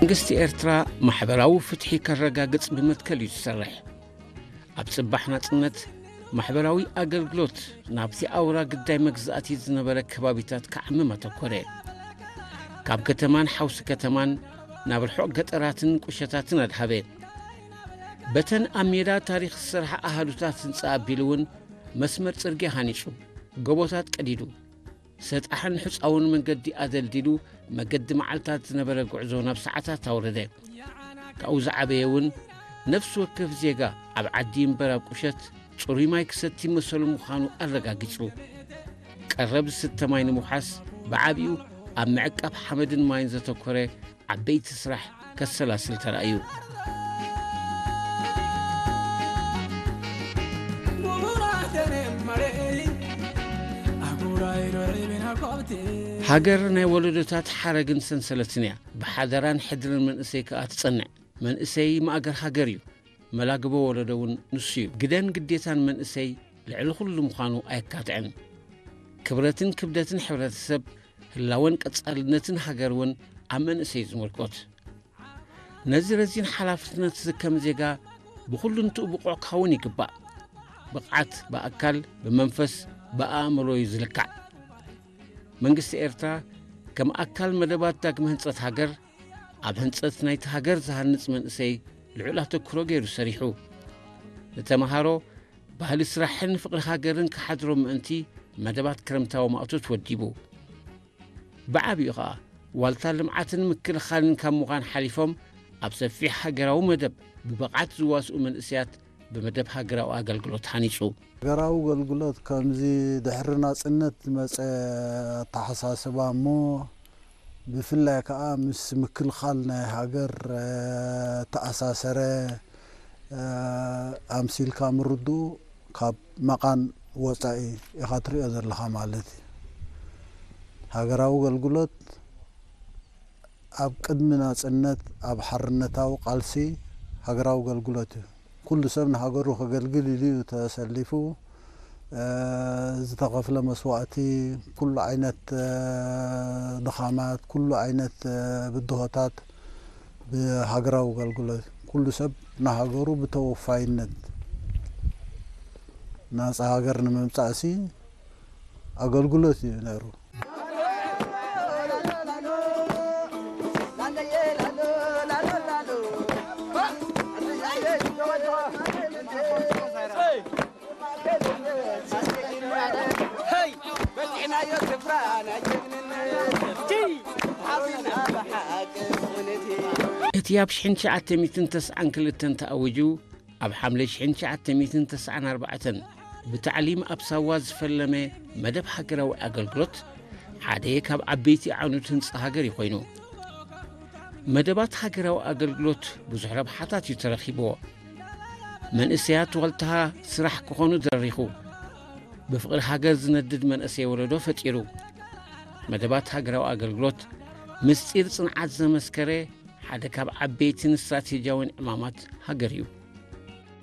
መንግስቲ ኤርትራ ማሕበራዊ ፍትሒ ከረጋግጽ ብመትከል እዩ ዝሰርሕ። ኣብ ጽባሕ ናጽነት ማሕበራዊ ኣገልግሎት ናብቲ ኣውራ ግዳይ መግዛእቲ ዝነበረ ከባቢታት ክዓምም ኣተኮረ። ካብ ከተማን ሓውሲ ከተማን ናብ ርሑቕ ገጠራትን ቁሸታትን ኣድሃበ። በተን ኣብ ሜዳ ታሪኽ ዝሰርሓ ኣሃዱታት ህንጻ ኣቢሉ እውን መስመር ጽርግያ ሃኒጹ፣ ጎቦታት ቀዲዱ፣ ሰጣሕን ሕጻውን መንገዲ ኣደልዲሉ መገዲ መዓልታት ዝነበረ ጉዕዞ ናብ ሰዓታት ኣውረደ። ካብኡ ዝዓበየ እውን ነፍሲ ወከፍ ዜጋ ኣብ ዓዲ እምበር ኣብ ቁሸት ጽሩይ ማይ ክሰቲ መሰሉ ምዃኑ ኣረጋጊጹ። ቀረብ ዝስተ ማይ ንምውሓስ ብዓቢኡ ኣብ ምዕቃብ ሓመድን ማይን ዘተኮረ ዓበይቲ ስራሕ ከሰላስል ተራእዩ። ሃገር ናይ ወለዶታት ሓረግን ሰንሰለትን እያ። ብሓደራን ሕድርን መንእሰይ ከኣ ትጸንዕ። መንእሰይ ማእገር ሃገር እዩ። መላግቦ ወለዶ እውን ንሱ እዩ። ግደን ግዴታን መንእሰይ ልዕሊ ኩሉ ምዃኑ ኣየካትዕን። ክብረትን ክብደትን ሕብረተሰብ፣ ህላወን ቀጻልነትን ሃገር እውን ኣብ መንእሰይ እዩ ዝምርኮት። ነዚ ረዚን ሓላፍነት ዝከም ዜጋ ብኹሉንትኡ ብቑዕ ክኸውን ይግባእ። ብቕዓት ብኣካል፣ ብመንፈስ፣ ብኣእምሮ እዩ ዝልካዕ። መንግስቲ ኤርትራ ከም ኣካል መደባት ዳግመ ህንጸት ሃገር፣ ኣብ ህንጸት ናይቲ ሃገር ዝሃንጽ መንእሰይ ልዑል ኣተኩሮ ገይሩ ሰሪሑ። ንተመሃሮ ባህሊ ስራሕን ፍቕሪ ሃገርን ክሓድሮም ምእንቲ መደባት ክረምታዊ ማእቶት ወዲቡ። ብዓቢኡ ኸኣ ዋልታ ልምዓትን ምክልኻልን ካብ ምዃን ሓሊፎም ኣብ ሰፊሕ ሃገራዊ መደብ ብብቕዓት ዝዋስኡ መንእሰያት ብመደብ ሃገራዊ ኣገልግሎት ሃኒጹ። ሃገራዊ ኣገልግሎት ከምዚ ድሕሪ ናጽነት ዝመጸ ኣተሓሳስባ እሞ ብፍላይ ከኣ ምስ ምክልኻል ናይ ሃገር፣ እ፣ ተኣሳሰረ፣ እ፣ ኣምሲልካ ምርድኡ ካብ መቓን ወጻኢ ኢኻ ትሪኦ ዘለኻ ማለት እዩ። ሃገራዊ ኣገልግሎት ኣብ ቅድሚ ናጽነት ኣብ ሓርነታዊ ቃልሲ ሃገራዊ ኣገልግሎት እዩ። ኩሉ ሰብ ንሃገሩ ከገልግል ኢሉ እዩ ተሰሊፉ። እ፣ ዝተኸፍለ መስዋእቲ፣ ኩሉ ዓይነት፣ እ፣ ድኻማት፣ ኩሉ ዓይነት፣ እ፣ ብድሆታት ብሃገራዊ ኣገልግሎት ኩሉ ሰብ ንሃገሩ ብተወፋይነት ናጻ ሃገር ንምምጻእሲ ኣገልግሎት እዩ ነይሩ። እቲ ኣብ ሽሕን ትሽዓተ ሚእትን ተስዓን ክልተን ተኣዊጁ ኣብ ሓምለ ሽሕን ትሽዓተ ሚእትን ተስዓን ኣርባዕተን ብታዕሊም ኣብ ሳዋ ዝፈለመ መደብ ሃገራዊ ኣገልግሎት ሓደ ካብ ዓበይቲ ዓኑት ህንጻ ሃገር እዩ ኮይኑ። መደባት ሃገራዊ ኣገልግሎት ብዙሕ ረብሓታት እዩ ተረኺብዎ። መንእሰያት ዋልታ ስራሕ ክኾኑ ደሪኹ። ብፍቕሪ ሃገር ዝነድድ መንእሰይ ወለዶ ፈጢሩ። መደባት ሃገራዊ ኣገልግሎት ምስጢር ጽንዓት ዘመስከረ ሓደ ካብ ዓበይትን ስትራቴጂያውን ዕማማት ሃገር እዩ።